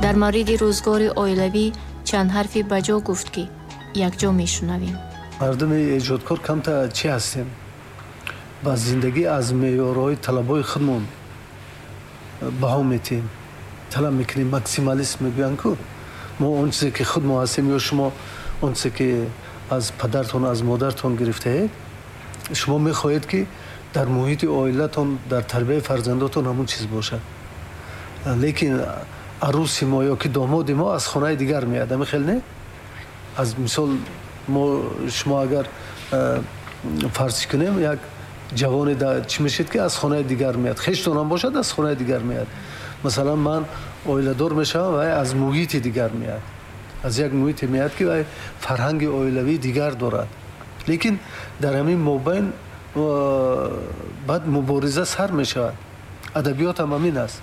Дар мавриди рӯзгори оилавӣ чанд ҳарфи баҷо гуфт, ки якҷо мешунавем. Мардуми эҷодкор камта чӣ ҳастем, ба зиндагӣ аз меъёрҳои талабҳои худмон баҳо метиҳем, талаб мекунем. Максималист мегӯянд ку. Мо он чизе ки худ мо ҳастем ё шумо он чизе ки аз падартон, аз модартон гирифтаед, шумо мехоҳед, ки дар муҳити оилатон, дар тарбияи фарзандотон ҳамон чиз бошад. Лекин арӯси мо ё ки домоди мо аз хонаи дигар меяд, ами хел не? Аз мисол, мо шумо агар фарз кунем, як ҷавоне чӣ мешед, ки аз хонаи дигар меяд, хештонам бошад, аз хонаи дигар меяд. Масалан, ман оиладор мешавам, вай аз муҳити дигар меяд, аз як муҳите меяд, ки вай фарҳанги оилавии дигар дорад. Лекин дар ҳамин мобайн баъд мубориза сар мешавад. Адабиёт ҳам ҳамин аст.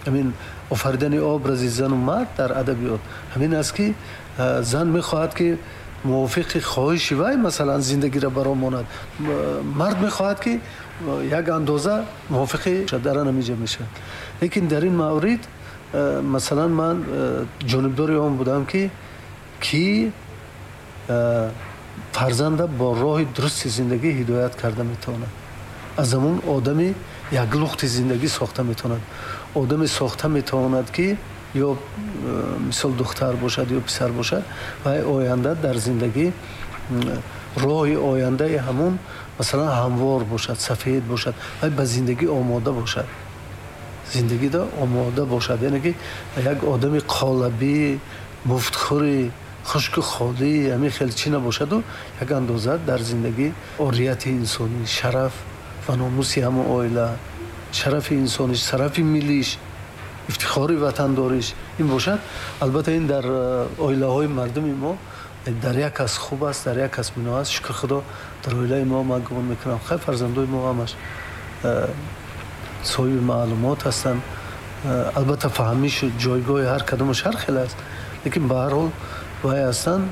Ҳамин офаридани образи зану мард дар адабиёт ҳамин аст, ки зан мехоҳад, ки мувофиқи хоҳиши вай, масалан, зиндагиро баро монад, мард мехоҳад, ки як андоза мувофиқи дар ҳаминҷа мешавад. Лекин дар ин маврид, масалан, ман ҷонибдори он будам, ки фарзанда бо роҳи дурусти зиндагӣ ҳидоят карда метавонад, аз ҳамун одами яклухти зиндагӣ сохта метавонад, одаме сохта метавонад, ки ё мисол духтар бошад ё писар бошад, вай оянда дар зиндагӣ роҳи ояндаи ҳамун, масалан, ҳамвор бошад, сафед бошад, вай ба зиндагӣ омода бошад, зиндагида омода бошад. Яъне ки як одами қолабӣ, муфтхӯри, хушку холӣ, ҳамин хел чӣ набошаду як андоза дар зиндагӣ орияти инсонӣ, шараф ва номуси ҳамон оила, шарафи инсониш, шарафи миллиш, ифтихори ватандориш ин бошад. Албатта, ин дар оилаҳои мардуми мо дар як кас хуб аст, дар як кас мино аст. Шукр Худо, дар оилаи мо, ман гумон мекунам, хай, фарзандои мо ҳамаш соҳиби маълумот ҳастанд. Албатта, фаҳмишу ҷойгоҳи ҳар кадомаш ҳар хел аст, лекин ба ҳар ҳол вай ҳастанд.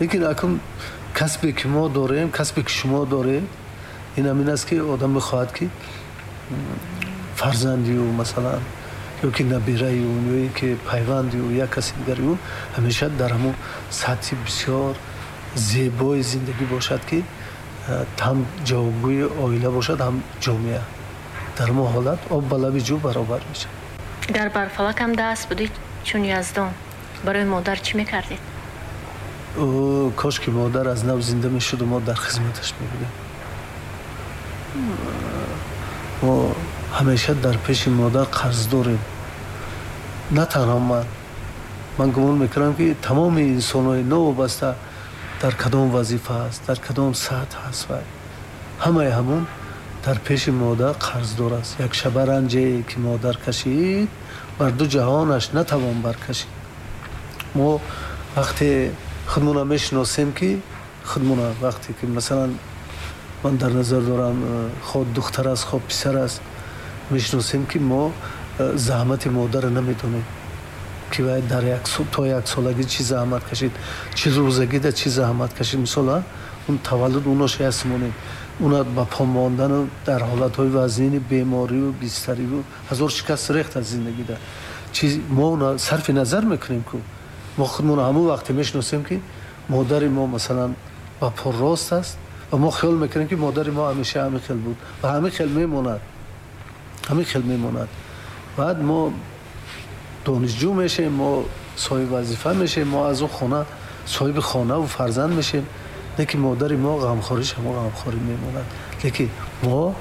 Лекин акун касбе ки мо дорем, касбе ки шумо доред, ин ҳамин аст, ки одам мехоҳад, ки фарзанди ӯ, масалан, ё ки набираи ӯ, ё ин ки пайванди ӯ, як каси дигари ӯ ҳамеша дар ҳамон сатҳи бисёр зебои зиндагӣ бошад, ки ҳам ҷавобгӯи оила бошад, ҳам ҷомеа. Дар мо ҳолат об ба лаби ҷӯ баробар мешавад. Гар бар фалакам даст будӣ чун Яздон, барои модар чӣ мекардед? Кош ки модар аз нав зинда мешуду мо дар хизматаш мебудем. Мо ҳамеша дар пеши модар қарздорем. На танҳо ман, ман гумон мекунам, ки тамоми инсонҳои новобаста дар кадом вазифа аст, дар кадом сатҳ аст, вай ҳамаи ҳамун дар пеши модар қарздор аст. Як шаба ранҷе ки модар кашид, бар ду ҷаҳонаш натавон баркашид. Мо вақте худмона мешиносем, ки худмона вақте ки, масалан, ман дар назар дорам, хоҳ духтар аст, хоҳ писар аст, мешиносем, ки мо заҳмати модарро намедонем, ки вай дар то яксолагӣ чӣ заҳмат кашид, чӣ рӯзагида чӣ заҳмат кашид. Мисол, он таваллуд унош ясмонем, уна ба по мондану дар ҳолатҳои вазнини беморию бистариву ҳазор шикаст рехт аз зиндагида чи мо уна сарфи назар мекунем ку. Мо худмона ҳамон вақте мешиносем, ки модари мо, масалан, ба по рост аст ва мо хиёл мекунем, ки модари мо ҳамеша ҳамин хел буд ва ҳамин хел мемонад, ҳамин хел мемонад. Баъд мо донишҷӯ мешем, мо соҳиби вазифа мешем, мо аз он хона соҳиби хонаву фарзанд мешем, лекин модари мо ғамхориш ҳамо ғамхорӣ мемонад. Лекин мо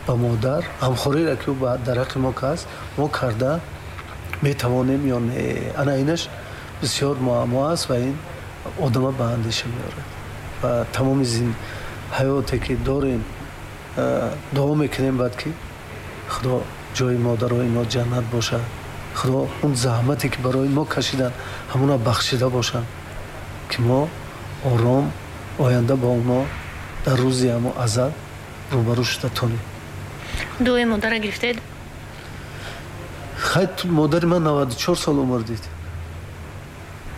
ба модар ғамхориро, ки ӯ дар ҳаққи мо каст, мо карда метавонем ё не? Ана инаш бисёр муаммо аст ва ин одама ба андеша меорад. Ва тамоми ҳаёте ки дорем, дуо мекунем баъд, ки Худо ҷои модарои мо ҷаннат бошад, Худо он заҳмате ки барои мо кашиданд, ҳамона бахшида бошанд, ки мо ором оянда бо онҳо дар рӯзи ҳамо азал рӯбарӯ шуда тонем. Дуои модара гирифтед? Хай, модари ман 94 сол умр дид.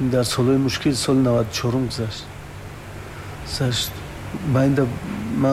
Дар солҳои мушкил, соли 94-ум гузашт. Байнда ман